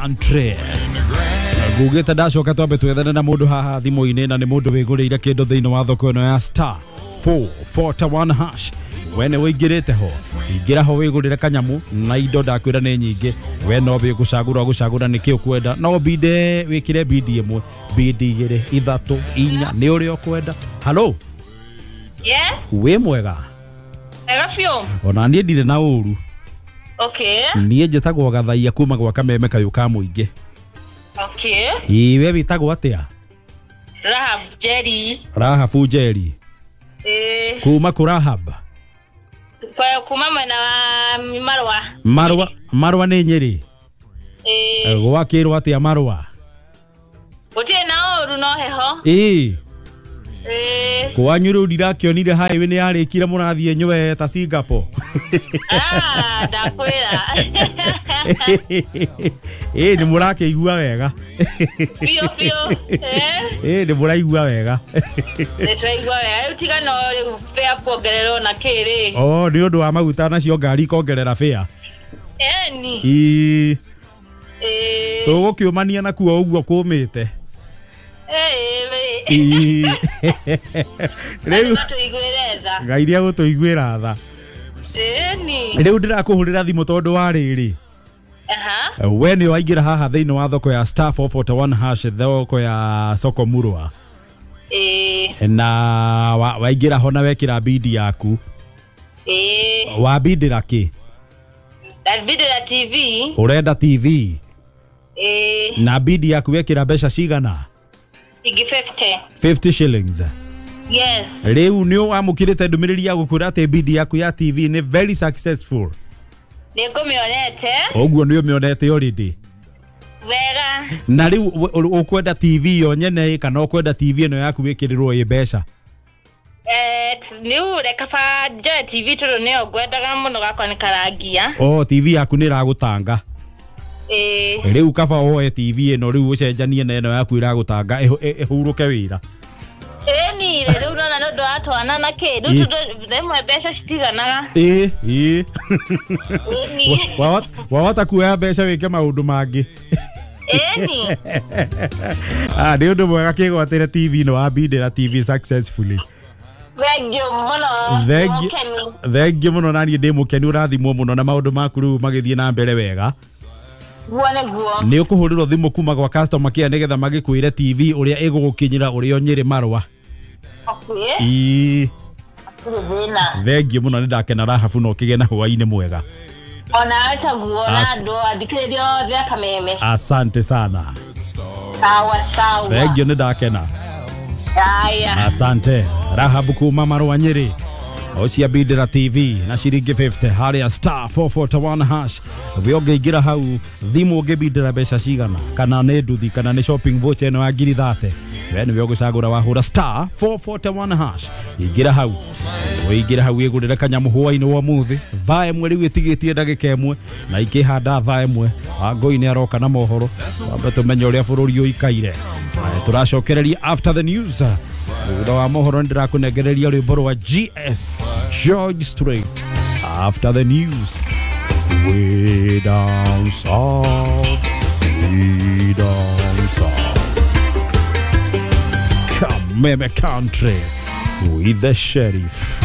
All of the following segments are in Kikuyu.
Country ngugĩte ndacoka twambe twethane na mũndũ haha thimũ-inĩ na nĩ mũndũ wĩgũrĩire kĩndũ thĩinĩ wa thoko ĩno ya star 441 hash. We nĩ wĩingĩrĩte ho, ingĩra ho wĩgũrĩre kanyamu na indo ndakwĩra nĩ nyingĩ. We no wĩgũcagũra gũcagũra nĩkĩ ũkwenda, no binde wĩkĩre bindi ĩmwe, bindi igĩrĩ, ithatũ, inya, nĩ ũrĩa ũkwenda. Halo. Yes. Wĩ mwega? Wega biũ. Ona niĩ ndirĩ na ũru. Okay. Niĩ njĩtagwo Gathaia kuma gwa Kameme kayũ ka mũingĩ. Okay. Ĩĩ, we wĩtagwo atĩa? Rahab Jerry. Rahabu Njeri. Ĩĩ. Kuma kũ Rahab? Kwa kuma mwena wa Marwa. Marwa, Marwa nĩ Nyĩrĩ. Ĩĩ. Gwakĩrwo atĩa Marwa? Gũtirĩ na ũru no heho. Ĩĩ. Ĩĩ. Kwanyu rĩu ndirakĩonire highway nĩ yarĩkire mũrathiĩ nywe ta Singapore. Ah, ndakwĩra. Ĩĩ, nĩ mũrakĩigua wega. Biũ biũ. Eh. Ĩĩ, nĩ mũraigua wega. Nĩ tũraigua wega. Rĩu tiga no rĩu fare kuongererwo na kĩ rĩ. Oh, nĩ ũndũ wa maguta nacio ngari ikongerera fare. Ĩni. Ĩĩ. Ĩĩ. Tũgũkĩũmania nakuo ũguo kũmĩte. Ĩĩ. Ĩĩ. Rĩu tũiguĩre tha. Ngai nĩ egũtũiguĩra tha. Ĩni. Rĩu ndĩrakũhũrĩra thimũ tondũ wa rĩrĩ. Aha. We nĩ waingĩra haha thĩinĩ wa thoko ya star 441 hash, thoko ya soko murwa. Ĩĩ. Na waingĩra ho na wekĩra bidi yaku. Ĩĩ. Wabindĩra kĩ? Ndabindĩra TV. Ũrenda TV? Ĩĩ. Na bidi yaku wekĩra mbeca cigana? Ingĩ 50. 50 shillings. Yes. Rĩu nĩ wamũkĩrĩte ndũmĩrĩri ya gũkwĩra atĩ bidi yaku ya TV nĩ very successful. Nĩ ngũmĩonete. Ũguo nĩ ũmĩonete already. Wega. Na rĩu ũkwenda TV yo nyene kana ũkwenda TV ĩno yaku wĩkĩrĩrwo ĩ mbeca? Rĩu reka ba njoe TV tondũ nĩyo ngwendaga mũno gakwa nĩ karangia. Oh, TV yaku nĩ ĩragũtanga. Ĩĩ. Rĩu kaba woe TV ĩno rĩu ũcenjanie na ĩno yaku ĩragũtanga ĩhurũke wĩra. Ĩni rĩu nona nĩ ũndũ wa twana na kĩ rĩu tondũ rĩmwe mbeca citiganaga. Ĩĩ, ĩĩ. Ĩni. Wahota kuoya mbeca wĩke maũndũ mangĩ. Ĩni. Ah, nĩ ũndũ mwega kĩgwatĩre TV ĩno wambindĩra TV successfully. Thengiũ mũno. Thengiũ mũno na niĩ ndĩ mũkenu, ũrathimwo mũno na maũndũ maku rĩu magĩthiĩ na mbere wega. Guo nĩguo. Nĩ ũkũhũrĩrwo thimũ kuma gwa customer care nĩgetha magĩkwĩre TV ũrĩa ĩgũgũkinyĩra ũrĩ o Nyĩrĩ Marwa. Okay. Ĩĩ. Hatirĩ thĩna. Thengiũ mũno, nĩ ndakena Rahabu, na ũkĩgĩe na hwaĩ-inĩ mwega. Ona taguo na andũ athikĩrĩria othe a Kameme. Asante sana. Sawa sawa. Thengiũ, nĩ ndakena. Haya. Asante. Rahabu kuma Marwa Nyĩrĩ. Ũcia bindĩra TV na ciringi 50 harĩa star 441 hash. We ũngĩingĩra hau thimũ ũngĩbindĩra mbeca cigana, kana nĩ nduthi kana nĩ shopping voucher ĩno ya ngiri 30. We nĩwe ũgũcagũra wahũra star 441 hash. Ingĩra hau. Ũingĩre hau wĩgũrĩre kanyamũ hwaĩ-inĩ wa ũmũthĩ. Thaa ĩmwe rĩu ĩtigĩtie ndagĩka ĩmwe na ikĩhanda thaa ĩmwe. Wangũi nĩ aroka na mohoro. Twambe tũmenye ũrĩa bũrũri ũikaire. Tũracokereria after the news. Thutha wa mohoro nĩndĩrakũnengereria rwĩmbo rwa GS George Strait. After the news. Way down south, way down south. Kameme Country with the sheriff.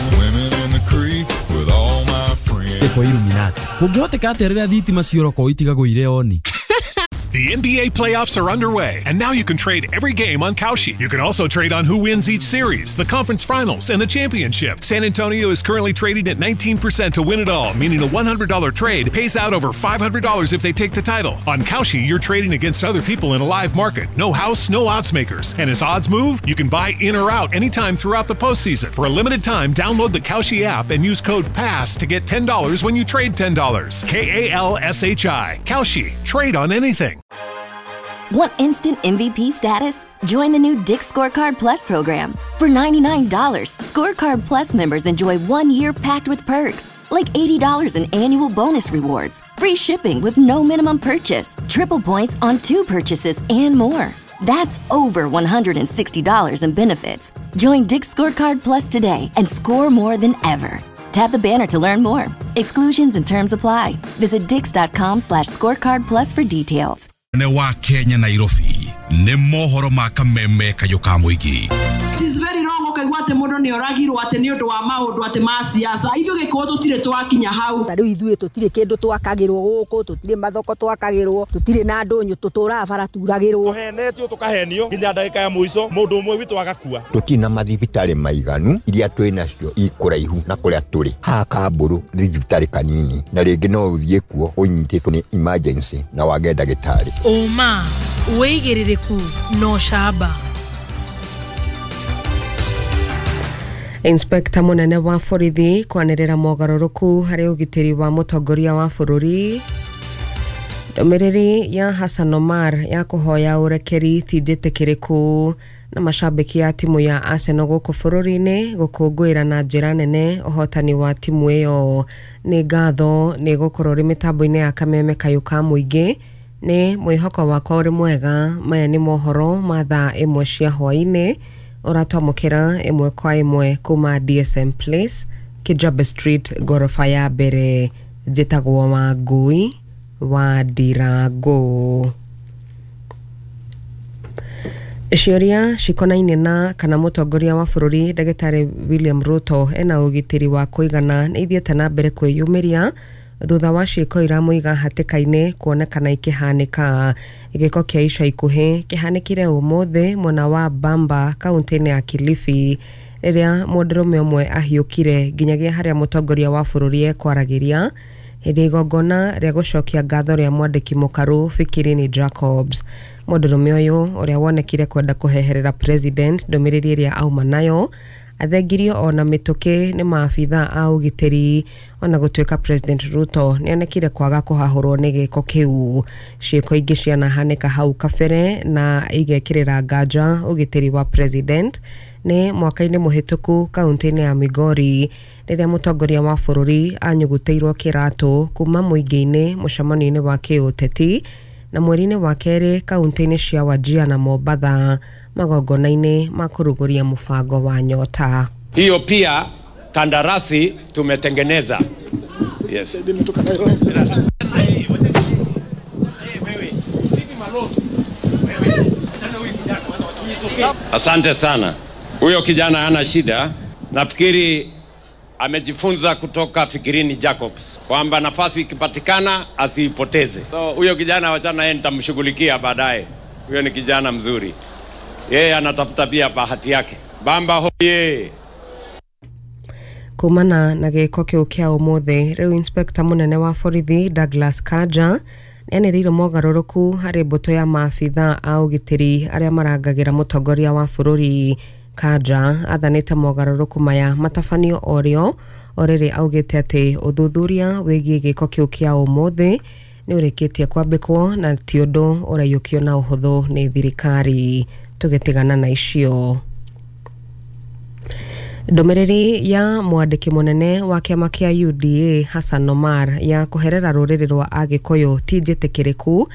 Swimming in the creek with all my friends. Kwa Illuminati. Kũngĩhoteka atĩa rĩrĩa thitima cioroko itigagwo irĩ oni? The NBA playoffs are underway, and now you can trade every game on Kalshi. You can also trade on who wins each series, the conference finals, and the championship. San Antonio is currently trading at 19% to win it all, meaning a $100 trade pays out over $500 if they take the title. On Kalshi, you're trading against other people in a live market. No house, no odds makers. And as odds move, you can buy in or out anytime throughout the postseason. For a limited time, download the Kalshi app and use code PASS to get $10 when you trade $10. K-A-L-S-H-I. Kalshi. Trade on anything. Want instant MVP status? Join the new Dick's Scorecard Plus program. For $99, Scorecard Plus members enjoy 1 year packed with perks, like $80 in annual bonus rewards, free shipping with no minimum purchase, triple points on 2 purchases, and more. That's over $160 in benefits. Join Dick's Scorecard Plus today and score more than ever. Tap the banner to learn more. Exclusions and terms apply. Visit dix.com/scorecard plus for details. Ne wa Kenya Nairobi nĩ mohoro ma kameme kayũ ka mũingĩ. It is very wrong ũkaigua atĩ mũndũ nĩ oragirwo atĩ nĩ ũndũ wa maũndũ atĩ ma siasa. Ithuĩ gĩkũyũ tũtirĩ twakinya hau. Ta rĩu ithuĩ tũtirĩ kĩndũ twakagĩrwo gũkũ, tũtirĩ mathoko twakagĩrwo, tũtirĩ na ndũnyũ, tũtũraga bara turagĩrwo. Tũhenetio tũkahenio nginya ndagĩka ya mũico mũndũ ũmwe witũ agakua. Tũtirĩ na mathibitarĩ maiganu, iria twĩ nacio i kũraihu na kũrĩa tũrĩ. Haha Kambũrũ thibitarĩ kanini na rĩngĩ no ũthiĩ kuo ũnyitĩtwo nĩ emergency na wage ndagĩtarĩ. Ũma, wĩigĩrĩrĩku na ũcamba. Inspekta munene wa borithi kwanĩrĩra mogarũrũku harĩ ũgitĩri wa mũtongoria wa bũrũri. Ndũmĩrĩri ya Hassan Omar ya kũhoya ũrekeri ti njĩtĩkĩrĩku. Na mashabiki a timu ya Arsenal gũkũ bũrũri-inĩ gũkũngũĩra na njĩra nene ũhotani wa timu ĩyo. Nĩ ngatho nĩ gũkorwo ũrĩ mĩtambo-inĩ ya kameme kayũ ka mũingĩ. Nĩ mwĩhoko wakwa ũrĩ mwega. Maya nĩ mohoro ma thaa 1 cia hwaĩ-inĩ ũratwamũkĩra 1 kwa 1 kuma DSM Place, Kijabe Street, ngoroba ya mbere. Njĩtagwo Wangui wa Ndirango. Ciũria cikonaine na kana mũtongoria wa bũrũri ndagĩtarĩ William Ruto ena ũgitĩri wa kũigana nĩ ithiĩte na mbere kwĩyumĩria thutha wa ciĩko iramũiga hatĩka-inĩ kuonekana ikĩhanĩka. Gĩko kĩa ica ikuhĩ kĩhanĩkire ũmũthĩ mwena wa Bamba kaunti-inĩ ya Kilifi rĩrĩa mũndũrũme ũmwe ahiũkire nginyagia harĩa mũtongoria wa bũrũri ekwaragĩria hĩndĩ igongona rĩa gũcokia ngatho rĩa mwandĩki mũkaru Fikirini Jacobs. Mũndũrũme ũyũ ũrĩa wonekire kwenda kũheherera president ndũmĩrĩri ĩrĩa auma nayo athengirio ona mĩtũkĩ nĩ maabitha a ũgitĩri. Ona gũtuĩka President Ruto nĩonekire kwaga kũhahũrwo nĩ gĩko kĩu. Ciĩko ingĩ cianahanĩka hau kabere na igekĩrĩra nganja ũgitĩri wa president nĩ mwaka-inĩ mũhĩtũku kaunti-inĩ ya Migori rĩrĩa mũtongoria wa bũrũri anyugutĩirwo kĩratũ kuma mũingĩ-inĩ mũcemanio-inĩ wa kĩũteti na mweri-inĩ wa kerĩ kaunti-inĩ cia Wajir na Mombatha magongona-inĩ ma kũrugũria mũbango wa Nyota. Hiyo pia kandarasi tumetengeneza. Yes. Asante sana. Huyo kijana hana shida. Nafikiri amejifunza kutoka Fikirini Jacobs kwamba nafasi ikipatikana asiipoteze. So huyo kijana wachana yeye, nitamshughulikia baadaye. Huyo ni kijana mzuri. Yeye anatafuta pia bahati yake. Bamba hoye. Kumana na gĩko kĩu kĩa ũmũthĩ rĩu inspekta mũnene wa borithi Douglas Kanja nĩanĩrĩire mogarũrũku harĩ mbũtũ ya maabitha a ũgitĩri arĩa marangagĩra mũtongoria wa bũrũri. Kanja athanĩte mogarũrũku maya matabanio orĩo o rĩrĩ augĩte atĩ ũthuthuria wĩgiĩ gĩko kĩu kĩa ũmũthĩ nĩ ũrĩkĩtie kwambĩkwo na ti ũndũ ũraiyũkio na ũhũthũ nĩ thirikari. Tũgĩtigana na icio. Ndũmĩrĩri ya mwandĩki mũnene wa kĩama kĩa UDA Hassan Omar ya kũherera rũrĩrĩ rwa Agĩkũyũ ti njĩtĩkĩrĩku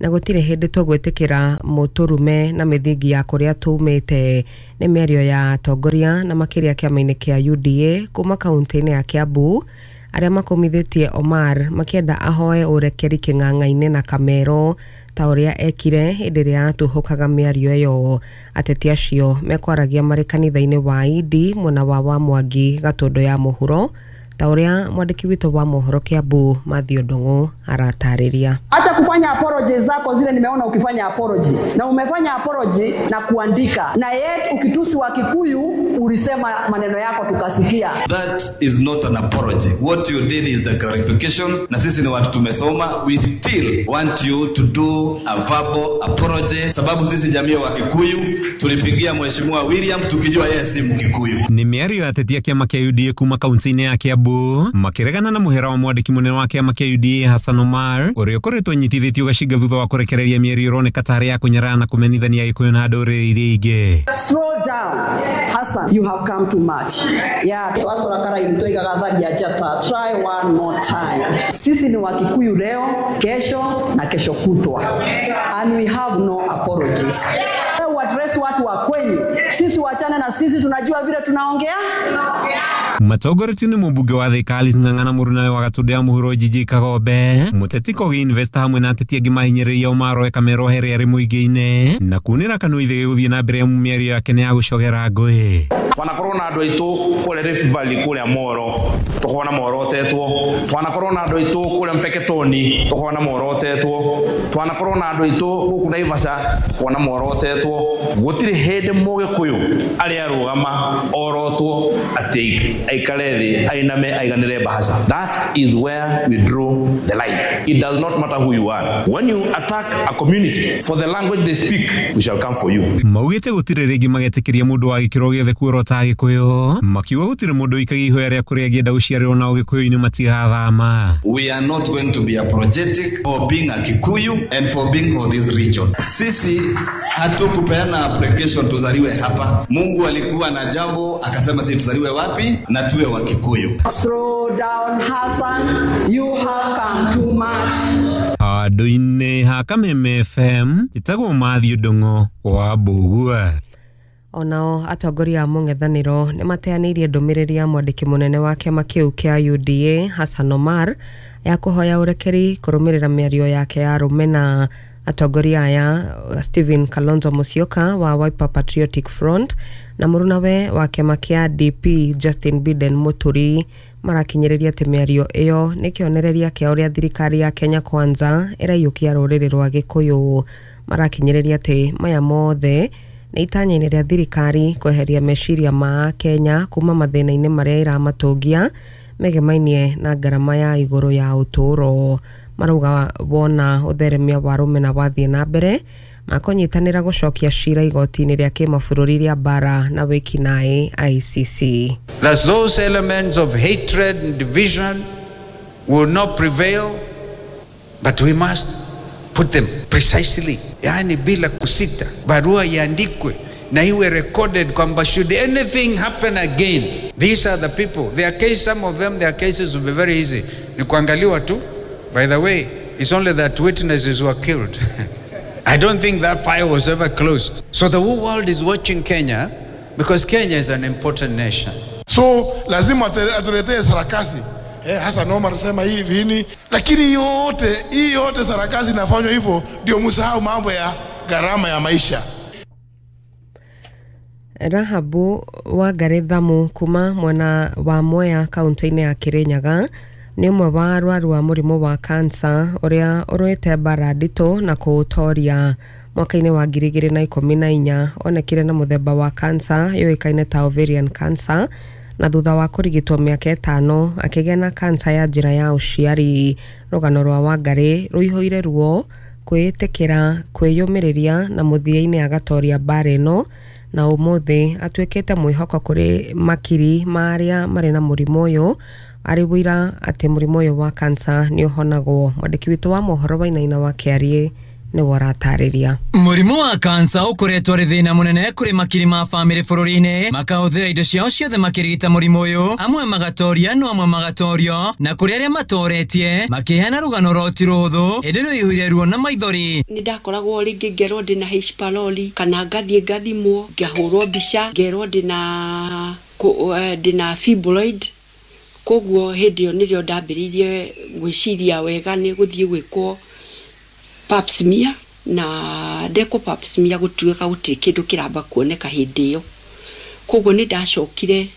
na gũtirĩ hĩndĩ tũgwĩtĩkĩra mũtũrume na mĩthingi ya kũrĩa tumĩte. Nĩ mĩario ya atongoria na makĩria kĩama-inĩ kĩa UDA kuma kaunti-inĩ ya Kiambu arĩa makũmithĩtie Omar makĩenda ahoe ũrekeri kĩng'ang'a-inĩ na Kamero ta ũrĩa ekire hĩndĩ ĩrĩa atuhũkaga mĩario ĩyo. Ateti acio mekwaragia marĩ kanitha-inĩ wa Idi mwena wa Mwangi Gatũndũ ya mũhuro ta ũrĩa mwandĩki witũ wa mohoro Kiambu Mathew Ndung'u aratarĩria. Acha kufanya apology zako zile, nimeona ukifanya apology na umefanya apology na kuandika, na yet ukitusi wa Kikuyu ulisema maneno yako tukasikia. That is not an apology. What you did is the clarification. Na sisi ni watu tumesoma, we still want you to do a verbal apology, sababu sisi jamii wa Kikuyu tulipigia Mheshimiwa William tukijua yeye si Mkikuyu. Ni mĩario ya atetia kĩama kĩa UDA kuma kaunti-inĩ ya Kiambu makiregana na muhera wa mwandĩki mũnene wa kĩama kĩa UDA Hassan Omar ũrĩa ũkoretwo anyitithĩtio gacinga thutha wa kũrekereria mĩario ĩroneka tarĩ ya kũnyarara na kũmenithania Gĩkũyũ na ndũrĩrĩ iria ingĩ. Slow down Hassan, you have come too much. Yeah, twacora karaini twaigaga tharia njata, try one more time. Sisi ni Wakikuyu leo, kesho na kesho kutwa, and we have no apologies. Address watu wa kwenyu. Sisi wachana na sisi, tunajua vile tunaongea. Matongoretio nĩ mũmbunge wa Thika Alice Ng'ang'a na mũrunawe wa Gatũndũ ya mũhuro Jiji Kagombe mũteti Kogi Investor hamwe na ateti angĩ mahinyĩrĩria Omar Kamero Here arĩ mũingĩ-inĩ na kunĩra kanua ithĩ gũthiĩ na mbere mĩario yake nĩ ya gũcogera ngũĩ. Twanakorwo na andũ aitũ kũrĩa Rift Valley kũrĩa Moro tũkona morotetwo, twanakorwo na andũ aitũ kũrĩa Mpeketoni tũkona morotetwo, twanakorwo na andũ aitũ gũkũ Naivasha tũkona morotetwo. Gũtirĩ hĩndĩ mũgĩkũyũ arĩa arũgama orotwo atĩ aikare thĩ ainame aiganĩre bahasha. That is where we draw the line. It does not matter who you are. When you attack a community for the language they speak, we shall come for you. Maugĩte gũtirĩ rĩngĩ magetĩkĩria mũndũ wa gĩkĩro gĩothe kuorota Gĩkũyũ, makiuga gũtirĩ mũndũ ũikagia ihoya rĩa kũrĩa angĩenda gũciarĩrwo na Ũgĩkũyũ-inĩ matigathama. We are not going to be apologetic for being a Kikuyu and for being for this region. Sisi hatukupeana application tuzaliwe hapa. Mungu alikuwa na jambo akasema sisi tuzaliwe wapi na tuwe wa Kikuyu. Slow down Hassan, you have come too much. Handũ-inĩ ha Kameme FM njĩtagwo Matthew Ndung'u wa Mbugua. Onao atongoria a mũng'ethanĩro nĩ mateanĩirie ndũmĩrĩri ya mwandĩki mũnene wa kĩama kĩu kĩa UDA Hassan Omar ya kũhoya ũrekeri kũrũmĩrĩra mĩario yake ya rũmena. Atongoria aya Stephen Kalonzo Musyoka wa Wiper Patriotic Front na mũrunawe wa kĩama kĩa DP Justin Biden Muturi marakinyĩrĩria atĩ mĩario ĩyo nĩ kĩonereria kĩa ũrĩa thirikari ya Kenya Kwanza ĩraiyũkia rũrĩrĩ rwa Gĩkũyũ. Marakinyĩrĩria atĩ maya mothe nĩ itanya-inĩ rĩa thirikari kweheria meciria ma Kenya kuma mathĩna-inĩ marĩa ĩramatũngia megemainie na ngarama ya igũrũ ya ũtũũro. Marauga wona ũtheremia wa rũmena wathiĩ na mbere makũnyitanĩra gũcokia cira igoti-inĩ rĩa kĩmabũrũri rĩa mbara na wĩkinaĩ ICC. That those elements of hatred and division will not prevail, but we must put them precisely, yani bila kusita. Barua iandikwe na iwe recorded kwamba should anything happen again, these are the people. Their case, some of them, their cases will be very easy. Ni kuangaliwa tu. By the way, it's only that witnesses were killed. I don't think that file was ever closed. So the whole world is watching Kenya because Kenya is an important nation. So lazima atuletee sarakasi. Hassan Omar sema hivi nini, lakini yote hii yote sarakasi inafanywa hivyo ndio msahau mambo ya gharama ya maisha. Rahabu wa Garethamu kuma mwena wa Mwea kaunti-inĩ ya Kirinyaga nĩ ũmwe wa arwaru wa mũrimũ wa kansa ũrĩa ũrũĩte mbara nditũ na kũũtoria. Mwaka-inĩ wa 2014 onekire na mũthemba wa kansa yũĩkaine ta ovarian cancer, na thutha wa kũrigitwo mĩaka 5 akĩgĩa na kansa ya njĩra ya ũciari. Rũgano rwa Wangarĩ rũihũire ruo, kwĩĩtĩkĩra, kwĩyũmĩrĩria na mũthia-inĩ agatoria mbara ĩno, na ũmũthĩ atuĩkĩte mwĩhoko kũrĩ makiri ma arĩa marĩ na mũrimũ ũyũ, arĩ wũira atĩ mũrimũ ũyũ wa kansa nĩ ũhonagwo. Mwandĩki witũ wa mohoro Wainaina wa Kĩariĩ nĩwe ũratarĩria. Mũrimũ wa kansa ũkoretwo arĩ thĩna mũnene kũrĩ makiri ma bamĩrĩ bũrũri-inĩ, makahũthĩra indo ciao ciothe makĩrigita mũrimũ ũyũ, amwe magatoria no amwe magatorio, na kũrĩ arĩa matoretie makĩheana rũgano rwa ti rũhũthũ ĩndĩ rũihũire ruo na maithori. Nĩ ndakoragwo rĩngĩ ngerwo ndĩna H pylori kana ngathiĩ ngathimwo ngahũrwo mbica ngerwo ndĩna fibroid. Koguo hĩndĩ ĩyo nĩrĩo ndambĩrĩirie gwĩciria wega nĩ gũthiĩ gwĩkwo pap smear, na ndekwo pap smear gũtuĩka gũtirĩ kĩndũ kĩramba kuoneka hĩndĩ ĩyo. Koguo nĩ ndacokire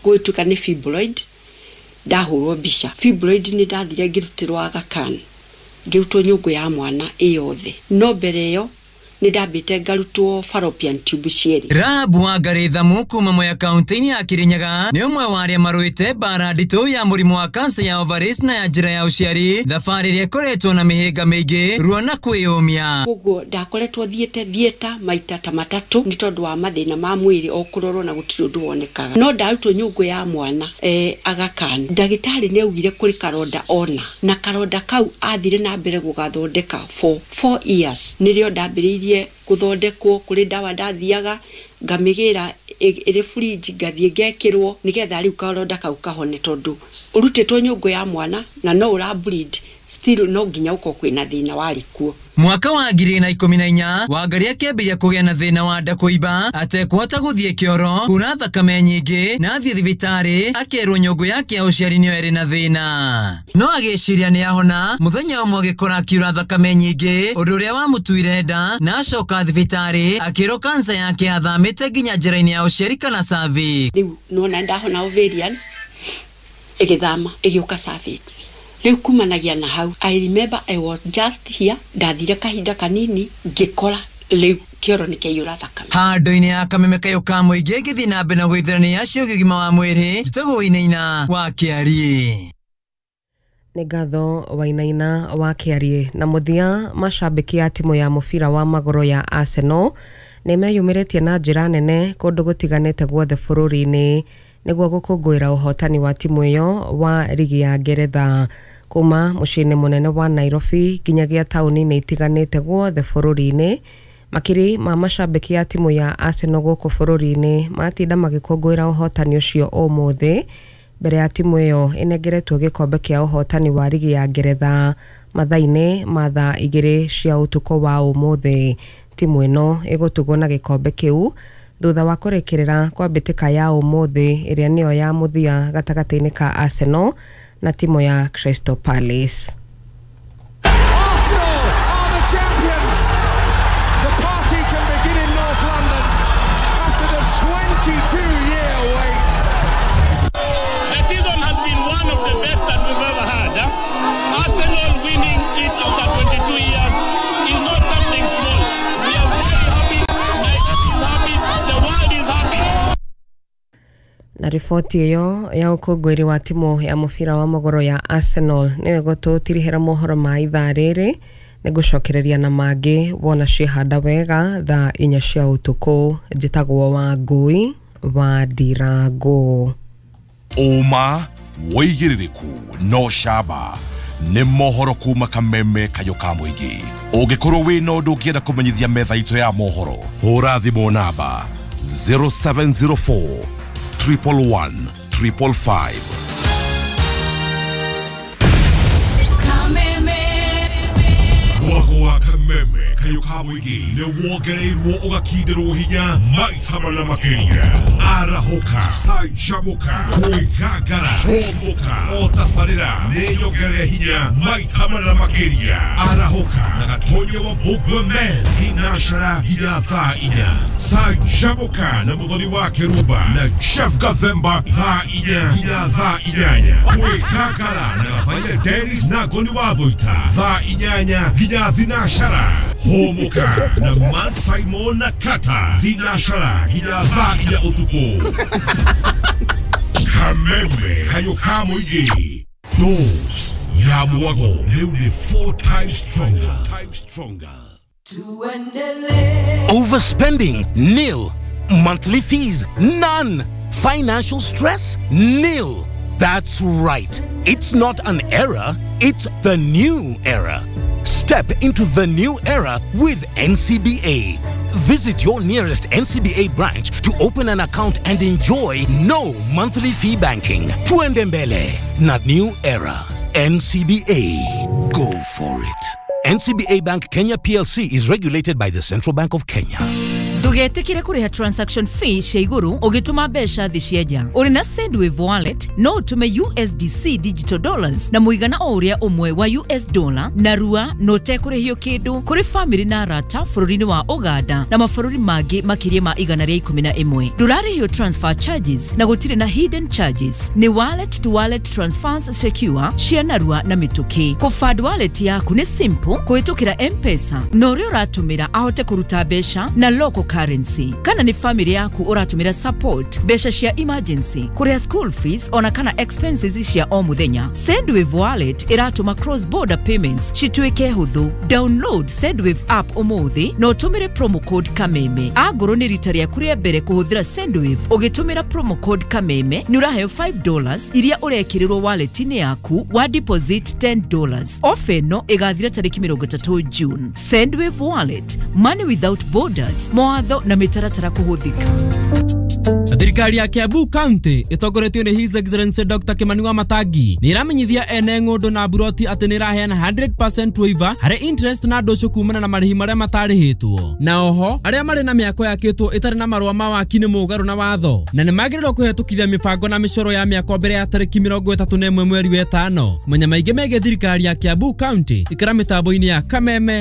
gũtuĩka nĩ fibroid, ndahũrwo mbica. Fibroid nĩ ndathire ngĩrutĩrwo Aga Khan, ngĩrutwo nyũngũ ya mwana ĩyothe, no mbere ĩyo nĩ ndambĩte ngarutwo fallopian tube cierĩ. Rahabu wa Garethamu kuma Mwea kaunti-inĩ ya Kirinyaga nĩ ũmwe wa arĩa marũĩte mbara nditũ ya mũrimũ wa kansa ya ovaries na ya njĩra ya ũciari, thabarĩ ĩrĩa ĩkoretwo na mĩhĩnga mĩingĩ, ruo na kwĩyũmia. Koguo ndakoretwo thiĩte thieta maita ta matatũ nĩ tondũ wa mathĩna ma mwĩrĩ o kũrorwo na gũtirĩ ũndũ wonekaga, no ndarutwo nyũngũ ya mwana Aga Khan. Ndagĩtarĩ nĩ augire kũrĩ karonda ona, na karonda kau athire na mbere gũgathondeka for 4 years. Nĩrĩo ndambĩrĩirie gũthondekwo, kũrĩ ndawa ndathiaga ngamĩgĩra ĩrĩ fridge ngathiĩ ngekĩrwo nĩgetha rĩu karonda kau kahone, tondũ ũrutĩtwo nyũngũ ya mwana na no ũra bleed Still no nginya ũkorwo kwĩna thĩna warĩ kuo. Mwaka wa 2014 Wangari akĩambĩrĩria kũgĩa na thĩna wa nda kũimba atekũhota gũthiĩ kĩoro, kura thakame nyingĩ, na athiĩ thibitarĩ akerwo nyũngũ yake ya ũciari nĩyo ĩrĩ na thĩna. No agĩciria nĩ ahona, mũthenya ũmwe agĩkora akiura thakame nyingĩ, ũndũ ũrĩa wamũtuire nda, na acoka thibitarĩ akĩrwo kansa yake yathamĩte nginya njĩra-inĩ ya ũciari kana cervix. Rĩu nona ndahona ovarian ĩgĩthama ĩgĩũka cervix. Rĩu kumanagia na hau, I remember I was just here, ndathire kahinda kanini ngĩkora rĩu kĩoro nĩ kĩaiyũra thakame. Handũ-inĩ ya kameme kayũ ka mũingĩ ngĩthiĩ na mbere na gũithĩrania ciĩgiĩ ũgima wa mwĩrĩ, njĩtagwo Wainaina wa Kĩariĩ. Nĩ ngatho Wainaina wa Kĩariĩ. Na mũthia, macambĩki a timu ya mũbira wa magũrũ ya Arsenal nĩ meyumĩrĩtie na njĩra nene kũndũ gũtiganĩte guothe bũrũri-inĩ nĩguo gũkũngũĩra ũhotani wa timu ĩyo wa rigi ya Ngeretha. Kuma mũciĩ-inĩ mũnene wa Nairobi nginyagia taũni-inĩ itiganĩte guothe bũrũri-inĩ, makiri ma macambĩki a timu ya Arsenal gũkũ bũrũri-inĩ matinda magĩkũngũĩra ũhotani ũcio ũmũthĩ mbere ya timu ĩyo ĩnengeretwo gĩkombe kĩa ũhotani wa rigi ya Ngeretha mathaa-inĩ ma thaa 2 cia ũtukũ wa ũmũthĩ. Timu ĩno ĩgũtugwo na gĩkombe kĩu thutha wa kũrĩkĩrĩra kwa mbĩtĩka ya ũmũthĩ ĩrĩa nĩyo ya mũthia gatagatĩ-inĩ ka Arsenal na timu ya Crystal Palace. Arsenal are the champions. The party can begin in North London after the 22-year wait. The season has been one of the best that we've ever had. Arsenal winning it after 22 years is not something small. We are very happy. Nairobi is happy. The world is happy. Na riboti ĩyo ya ũkũngũĩri wa timu ya mũbira wa magũrũ ya Arsenal nĩyo ĩgũtũtirihĩra mohoro ma ithaa rĩrĩ. Nĩngũcokereria na mangĩ wona ciĩhanda wega thaa 4 cia ũtukũ. Njĩtagwo Wangui wa Ndirango. Ũma wĩigĩrĩrĩku no camba nĩ mohoro kuma kameme kayũ ka mũingĩ. Ũngĩkorwo wĩna ũndũ ũngĩenda kũmenyithia metha itũ ya mohoro, hũra thimũ namba 0704 111 555. Mwago wa kameme kayũ ka mũingĩ nĩ wongereirwo ũgakindĩrwo hinya maita mana makĩria. Arahũka, canjamũka, kwĩgangara, hũmũka, o tabarĩra nĩ nyongerere hinya maita mana makĩria. Arahũka na Gatonya wa Mbũgua Men thinashara nginya thaa 4. Canjamũka na Mũthoni wa Kĩrumba na Jeff Gathemba thaa 4 nginya thaa 8. Kwĩgangara na Gathaia Dennis na Ngoni wa Thũita thaa 8 nginya thinashara. Hũmũka na Man Simon na Kata thinashara nginya thaa 4 ũtukũ. Kameme kayũ ka mũingĩ, dose ya mwago rĩu nĩ 4 times stronger. Overspending, nil. Monthly fees, none. Financial stress, nil. That's right. It's not an era, it's the new era. Step into the new era with NCBA. Visit your nearest NCBA branch to open an account and enjoy no monthly fee banking. Tuende mbele, not new era. NCBA. Go for it. NCBA Bank Kenya PLC is regulated by the Central Bank of Kenya. Ndũgetĩkĩre kũrĩha transaction fee cia igũrũ ũgĩtũma mbeca thĩ cia nja. Ũrĩ na Sendwave wallet no ũtũme USDC digital dollars na mũigana o ũrĩa ũmwe wa US dollar na rua na ũtekũrĩhio kĩndũ kũrĩ famĩlĩ na arata bũrũri-inĩ wa Uganda na mabũrũri mangĩ makĩria ma 111. Ndũrarĩhio transfer charges na gũtirĩ na hidden charges. Nĩ wallet to wallet transfers secure cia narua na mĩtũkĩ. Kũfund wallet yaku nĩ simple kũhĩtũkĩra M-Pesa na ũrĩa ũratũmĩra ahote kũruta mbeca na local currency. Kana nĩ family yaku ũratũmĩra support mbeca cia emergency, kũrĩha school fees ona kana expenses cia o mũthenya. Sendwave wallet ĩratũma cross border payments cituĩke hũthũ. Download Sendwave app ũmũthĩ na ũtũmĩre promo code Kameme. Angorwo nĩ rita rĩaku rĩa mbere kũhũthĩra Sendwave ũgĩtũmĩra promo code Kameme nĩ ũraheo $5 iria ũrekĩrĩrwo wallet-inĩ yaku wa deposit $10. Ofa ĩno ĩgathira tarĩki 30 June. Sendwave wallet, money without borders. Mawatho na mĩtaratara kũhũthĩka. Thirikari ya Kiambu County ĩtongoretio nĩ His Excellency Dr. Kimani Wamatangi nĩ ĩramenyithia ene ng'ũndũ na mburoti atĩ nĩ ĩraheana 100% waiver harĩ interest na ndũcũ kumana na marĩhi marĩa matarĩhĩtwo. Na oho arĩa marĩ na mĩako yakĩtwo ĩtarĩ na marũa ma waki nĩ mũgarũ na watho na nĩ magĩrĩirwo kũhetũkithia mĩbango na mĩcoro ya mĩako mbere ya tarĩki 31 mweri wa ĩtano. Kũmenya maingĩ megiĩ thirikari ya Kiambu County ikara mĩtambo-inĩ ya Kameme.